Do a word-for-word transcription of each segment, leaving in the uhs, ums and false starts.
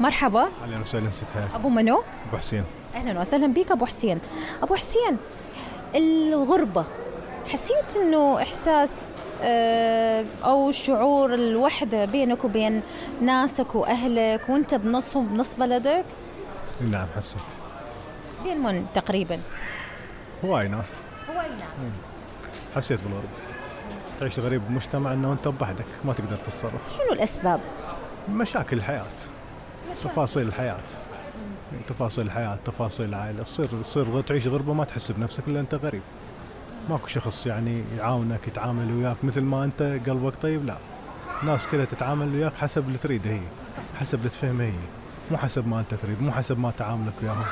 مرحبا. اهلا وسهلا ست حياة. ابو منو؟ ابو حسين. اهلا وسهلا بك ابو حسين. ابو حسين، الغربة حسيت انه احساس اه او شعور الوحدة بينك وبين ناسك واهلك وانت بنصهم بنص بلدك؟ نعم حسيت. بين من تقريبا؟ هواي ناس. هواي ناس. حسيت بالغربة. تعيش غريب بمجتمع انه انت بوحدك ما تقدر تتصرف. شنو الاسباب؟ مشاكل الحياة، تفاصيل الحياة. تفاصيل الحياة، تفاصيل العائلة، تصير تصير تعيش غربة ما تحس بنفسك الا انت غريب. ماكو شخص يعني يعاونك يتعامل وياك مثل ما انت قلبك طيب، لا. ناس كذا تتعامل وياك حسب اللي تريده هي، حسب اللي تفهمه هي، مو حسب ما انت تريد، مو حسب ما تعاملك وياهم.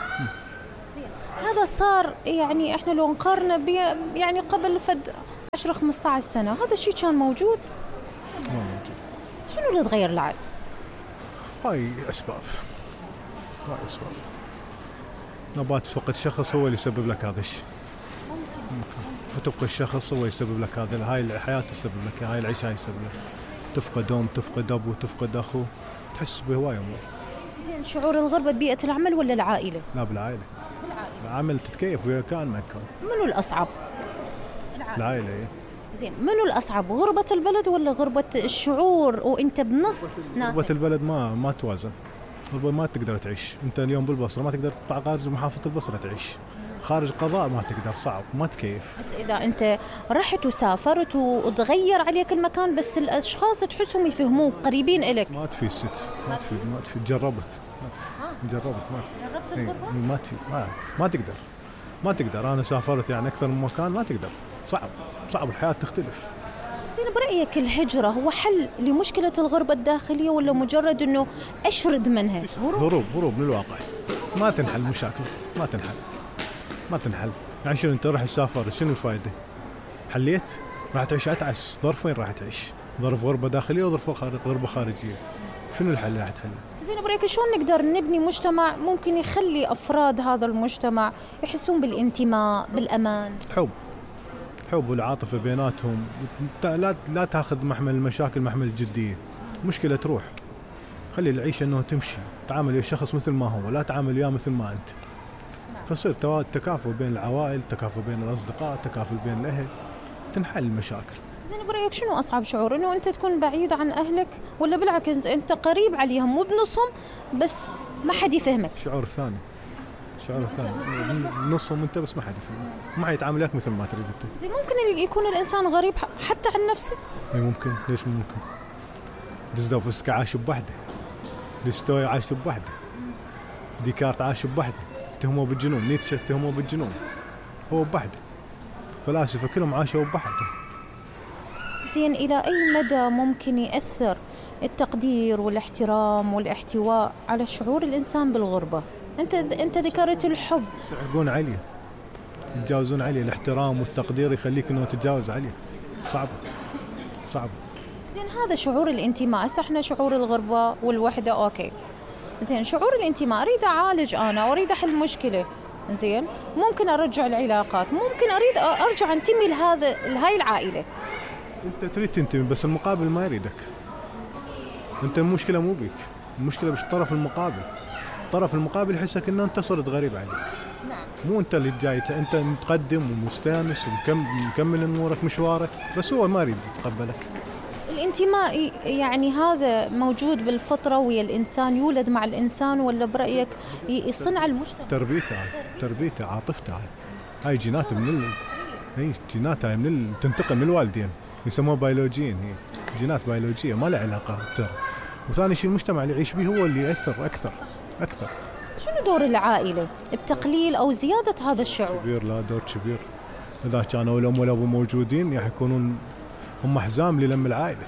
هذا صار يعني احنا لو نقارنه ب يعني قبل فد عشرة خمسة عشر سنة هذا الشيء كان موجود؟ ما موجود. شنو اللي تغير العاد؟ هاي اسباب. هاي اسباب. نبات فقد شخص هو اللي يسبب لك هذا الشيء. وتبقى الشخص هو يسبب لك هذا، هاي الحياة تسبب لك، هاي العيشة هاي تسبب لك. تفقد أم، تفقد أبو، تفقد أخو، تحس بهواية أمور. زين، شعور الغربة ببيئة العمل ولا العائلة؟ لا بالعائلة. بالعائلة. العمل تتكيف ويا كان ما كان. منو الأصعب؟ العائلة. العائلة إيه. زين، منو الأصعب، غربة البلد ولا غربة الشعور وأنت بنص ناسك؟ غربة البلد ما ما توازن. غربة ما تقدر تعيش، أنت اليوم بالبصرة ما تقدر تطلع خارج محافظة البصرة تعيش. خارج قضاء ما تقدر، صعب، ما تكيف. بس إذا أنت رحت وسافرت وتغير عليك المكان بس الأشخاص تحسهم يفهموك قريبين إلك. ما تفيد ست، ما تفيد، ما تفيد، جربت ما تفيد. جربت ما تفيد. جربت الغربة؟ ما تفيد، ما, ما تقدر ما تقدر أنا سافرت يعني أكثر من مكان، ما تقدر، صعب صعب، الحياة تختلف. زين، برأيك الهجرة هو حل لمشكلة الغربة الداخلية ولا مجرد أنه أشرد منها؟ هروب هروب من الواقع. ما تنحل مشاكل، ما تنحل ما تنحل يعني شنو انت راح تسافر، شنو الفائده؟ حليت؟ راح تعيش اتعس. ظرفين راح تعيش، ظرف غربه داخليه وظرف خارج غربه خارجيه. شنو الحل اللي راح تحله؟ زين، برأيك شلون نقدر نبني مجتمع ممكن يخلي افراد هذا المجتمع يحسون بالانتماء، بالامان؟ حب حب والعاطفه بيناتهم. لا لا تاخذ محمل المشاكل محمل الجديه. مشكله تروح، خلي العيشه انه تمشي، تعامل ويا الشخص مثل ما هو، لا تعامل وياه مثل ما انت. فصير تكافؤ بين العوائل، تكافؤ بين الأصدقاء، تكافؤ بين الأهل، تنحل المشاكل. زين، برأيك شنو أصعب شعور، إنه أنت تكون بعيد عن أهلك ولا بالعكس أنت قريب عليهم مو بنصهم بس ما حد يفهمك؟ شعور ثاني، شعور ثاني، نصهم أنت بس ما حد يفهمك، ما حد يتعامل وياك مثل ما تريد أنت. زين، ممكن يكون الإنسان غريب حتى عن نفسه؟ إي ممكن، ليش مو ممكن؟ ديزدوفسكي عاش بوحده، ديستوي عاش بوحده، ديكارت عاش بوحده، اتهموه بالجنون، نيتشه اتهموه بالجنون، هو بوحده. فلاسفة كلهم عاشوا بوحده. زين، إلى أي مدى ممكن يأثر التقدير والاحترام والاحتواء على شعور الإنسان بالغربة؟ أنت أنت ذكرت الحب. يصعبون عليه، يتجاوزون عليه، الاحترام والتقدير يخليك إنه تتجاوز عليه. صعب صعب. زين، هذا شعور الانتماء، هسه احنا شعور الغربة والوحدة أوكي. زين، شعور الانتماء أريد أعالج أنا وأريد أحل مشكلة. زين، ممكن أرجع العلاقات، ممكن أريد أرجع أنتمي لهذا لهاي العائلة. أنت تريد تنتمي بس المقابل ما يريدك. أنت المشكلة مو بيك، المشكلة بالطرف المقابل. الطرف المقابل يحسك إنه أنت صرت غريب عليه. نعم. مو أنت اللي جاي، أنت متقدم ومستانس ومكمل أمورك مشوارك، بس هو ما يريد يتقبلك. الانتماء يعني هذا موجود بالفطرة ويا الإنسان، يولد مع الإنسان ولا برأيك يصنع المجتمع؟ تربيته تربيته عاطفته هاي هاي جينات من ال... هي جينات هاي من ال... تنتقل من الوالدين، يسموها بيولوجيين، هي جينات بيولوجية ما لها علاقة بتر. وثاني شيء المجتمع اللي يعيش به هو اللي يأثر أكثر أكثر. شنو دور العائلة بتقليل أو زيادة هذا الشعور؟ كبير، لا دور كبير. إذا كانوا الأم والأبو موجودين راح يكونون هم حزام للم العائلة،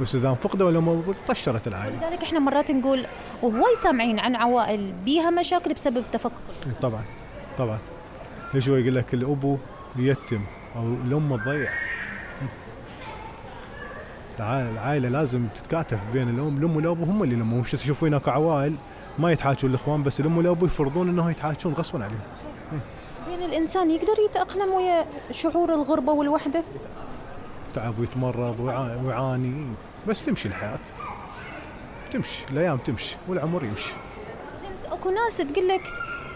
بس إذا فقدوا الأم والأبو طشرت العائلة. لذلك إحنا مرات نقول وهواي سامعين عن عوائل بيها مشاكل بسبب تفكك. طبعا طبعا. ليش هو يقول لك الأبو يتم أو الأم تضيع؟ العائلة لازم تتكاتف بين الأم الأم والأبو، هم اللي لما مش تشوفون هناك عوائل ما يتحاجون الإخوان، بس الأم والأبو يفرضون إنه يتحاجون غصبا عليهم. زين، الإنسان يقدر يتأقلم ويا شعور الغربة والوحدة؟ تعب ويتمرض ويعاني، بس تمشي الحياة تمشي الايام تمشي والعمر يمشي. زين اكو ناس تقول لك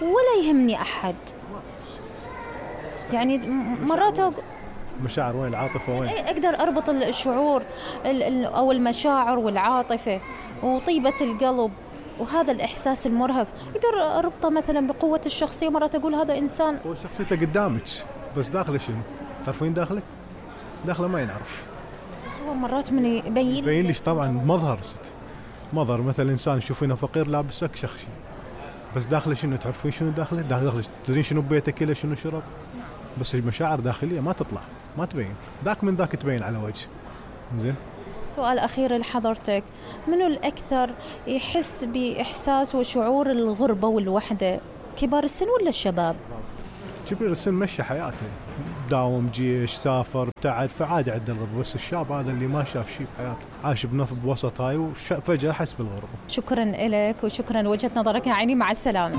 ولا يهمني احد، يعني م- مرات أق- مشاعر وين؟ العاطفه وين؟ إيه اقدر اربط الشعور ال- ال- او المشاعر والعاطفه وطيبه القلب وهذا الاحساس المرهف، اقدر اربطه مثلا بقوه الشخصيه. مرات اقول هذا انسان هو شخصيته قدامك بس داخله شنو؟ تعرفين داخله؟ داخله ما ينعرف. بس هو مرات من يبين يبين ليش طبعا مظهر ست مظهر، مثلا انسان تشوفينه فقير لابس اكشخ شيء بس داخله شنو؟ تعرفين شنو داخله؟ داخله تدرين شنو ببيته كله شنو شرب؟ بس المشاعر داخليه ما تطلع ما تبين، ذاك من ذاك تبين على وجه. زين. سؤال أخير لحضرتك، منو الأكثر يحس بإحساس وشعور الغربة والوحدة، كبار السن ولا الشباب؟ كبير السن مشى حياته، داوم جيش سافر ابتعد فعادي عنده الغربة، بس الشاب هذا اللي ما شاف شيء بحياته عاش بنف بوسط هاي وفجأة حس بالغربة. شكرا لك وشكرا وجهة نظرك يا عيني، مع السلامة.